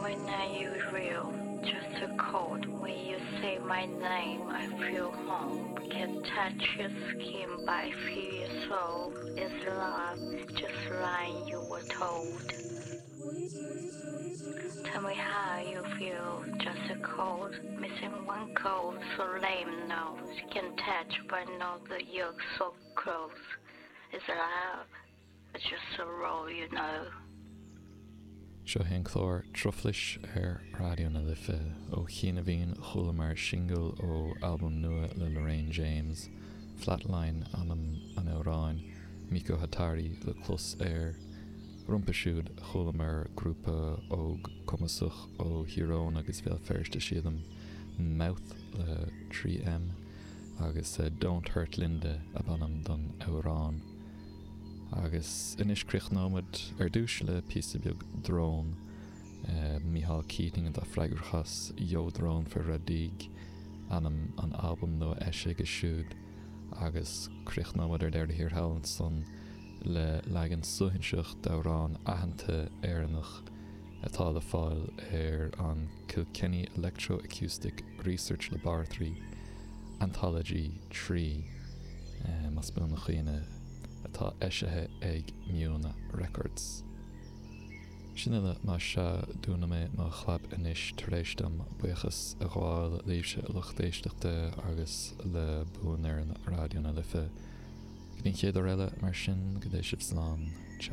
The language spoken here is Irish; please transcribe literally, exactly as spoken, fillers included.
my name you real, just a cold. When you say my name, I feel home. Can touch your skin, but I feel your soul. Is love, just like you were told. Tell me how you feel, just a cold. Missing one cold, so lame now. Can touch, but know that you're so close. It's love, it's just a role you know. Seo é an clár Truflais ar Raidió na Life ó chianaibh chualamar singil ó albam nua le Lorraine James, Flatline ainm an amhráin, Miko Hatari le clos air. Roimhe siúd chualamar grúpa óg cumasach ó Thír Eoghain agus Bhéal Feirste sílim Mouth le trí M agus uh, Don't Hurt Linda ab ainm don amhrán. Agus anois críochnóimid ar dtús le píosa beag drón uh, Micheál Keating atá freagrach as Yo Drone for Radaig ainm an albam nua eisithe siúd agus críochnóimid ar deireadh thiar thall ansan le leagan suaithinseach d'amhrán aitheanta Éireannach atá le fáil ar an Kilkenny Electroacoustic Research Laboratory Anthology trí uh, más buan mo chuimhne atá eisithe ag Miona Records. Sin uile mar sea dúnfaidh mé mo chlab anois tar éis dom buíochas a ghabháil libhse lucht éisteachta agus le buanfhoireann Raidió na Life. Go dtí an chéad uair eile mar sin go dté sibh slán ciao.